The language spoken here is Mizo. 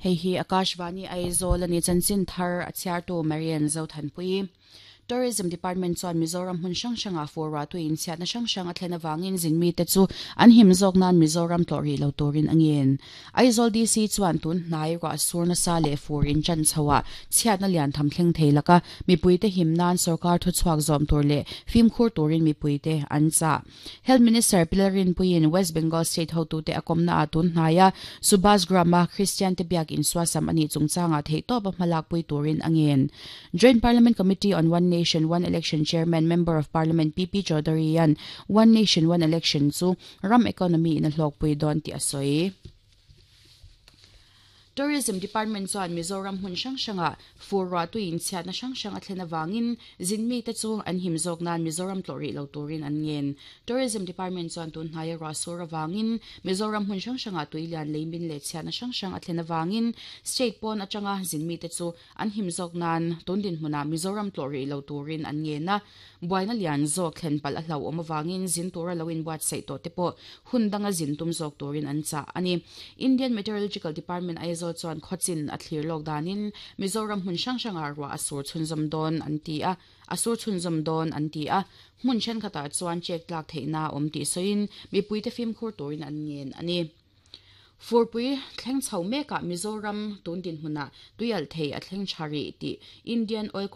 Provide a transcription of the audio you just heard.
Hei hi Akashvani Aizawl a ni chanchin thar a chhiartu Marian Zothanpui. Tourism Department chuan Mizoram hmun hrang hrangah fur ruah tui inchhiatna hrang hrang a thlen avangin zin mite chu an him zawk nan Mizoram tlawh rih lo turin a ngen. Aizawl DC chuan tun hnai ruah sur nasa leh fur inchan chhoah chhiatna lian tham thleng thei laka mipuite him nan sorkar thuchhuak zawm tur leh fimkhur turin mipuite an chah. Health Minister Pi Lalrinpuiin West Bengal State hotute a kawmnaah tun hnaia Subhas Gram-a Kristiante biak insuasam a nih chungchangah theihtawpa hmalakpui turin a ngen. Joint Parliament Committee on One Nation, One Election Chairman, Member of Parliament PP Chaudhary-a'n One Nation, One Election chu ram economy in a hlawkpui dawn tih a sawi. Tourism Department chuan Mizoram hmun hrang hrangah fur ruah tui inchhiatna hrang hrang a thlen avangin zin mite chu an him zawk nan Mizoram tlawh rih lo turin an ngen. Tourism Department chuan tun hnaia ruah sur avangin Mizoram hmun hrang hrangah tui lian lei min leh chhiatna hrang hrang a thlen avangin state pawn atanga zin mite chu an him zawk nan tun dinhmunah Mizoram tlawh rih lo turin an ngen a. Buaina lian zawk thlen palh a hlauhawm avangin zin tura lo inbuatsaih tawh te pawh hun danga zin tum zawk turin an chah a ni. Indian Meteorological Department Aizawl chuan khawchin a thlir lawk danin Mizoram hmun hrang hrangah ruah a sur chhunzawm dawn an ti a, a sur chhunzawm dawn an ti a. Hmun thenkhatah chuan check tlak theihna a awm tih sawiin mipuite fimkhur turin an ngen a ni. Furpui thleng chho mekah Mizoram tun dinhmunah tuialh thei a thleng tha rih tih Indian Oil.